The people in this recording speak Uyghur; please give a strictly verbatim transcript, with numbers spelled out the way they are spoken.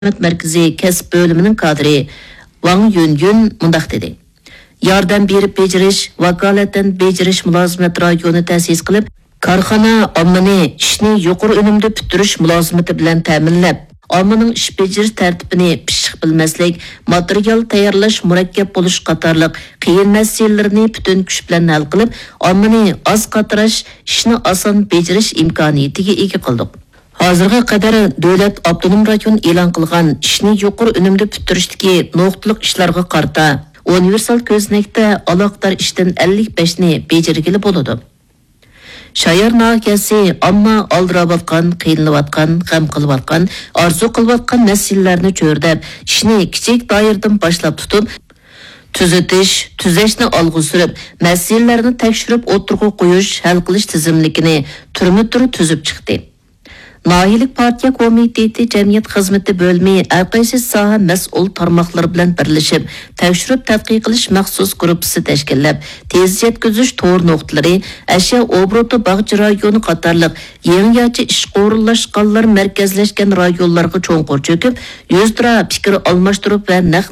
خىزمەت مەركىزى كەسىپ بۆلۈمىنىڭ كادىرى ۋاڭ يۈنيۈن مۇنداق دېدى: ياردەم بېرىپ بېجىرىش، ۋاكالىتەن بېجىرىش مۇلازىمەت رايونى تەسىس قىلىپ، كارخانا ئاممىنى ئىشنى يۇقىرى ئۈنۈمدە پۈتتۈرۈش مۇلازىمىتى بىلەن تەمىنلەپ، ئاممىنىڭ ئىش بېجىرىش تەرتىپىنى پىششىق بىلمەسلىك، ماتېرىيال تەييارلاش مۇرەككەپ بولۇش قاتارلىق قىيىن مەسىلىلىرىنى پۈتۈن كۈچ بىلەن ھەل قىلىپ، ئاممىنى ئاز قاتراش، ئىشنى ئاسان بېجىرىش ئىمكانىيىتىگە ئىگە قىلدۇق. ھازىرغا قەدەر دۆلەت ئاپتونوم رايون ئېلان قىلغان ئىشنى يۇقىرى ئۈنۈمدە پۈتتۈرۈشتىكى نۇقتىلىق ئىشلارغا قارىتا، ئۇنىۋېرسال كۆزنەكتە ئالاقىدار ئىشتىن ئەللىك بەشنى بېجىرگىلى بولىدۇ. شايار ناھىيەسى ئامما ئالدىراۋاتقان، قىينىلىۋاتقان، غەم قىلىۋاتقان، ئارزۇ قىلىۋاتقان مەسىلىلەرنى چۆرىدەپ، ئىشنى كىچىك دائىرىدىن باشلاپ تۇتۇپ، تۈزىتىش، تۈزەشنى ئالغا سۈرۈپ، مەسىلىلەرنى تەكشۈرۈپ ئوتتۇرىغا قويۇش، ھەل قىلىش تىزىملىكىنى تۈرمە-تۈر تۈزۈپ چىقتى. ناھىيەلىك پارتىيە كومىتېتى جەمئىيەت خىزمىتى بۆلۈمى ھەرقايسى ساھە مەسئۇل تارماقلىرى بىلەن بىرلىشىپ، تەكشۈرۈپ تەتقىق قىلىش مەخسۇس گۇرۇپپىسى تەشكىللەپ، تېز يەتكۈزۈش تور نۇقتىلىرى، ئەشيا ئوبوروتى باغچە رايونى قاتارلىق يېڭىچە ئىشقا ئورۇنلاشقانلار مەركەزلەشكەن رايونلارغا چوڭقۇر چۆكۈپ، يۈزتۇرا پىكىر ئالماشتۇرۇپ ۋە نەق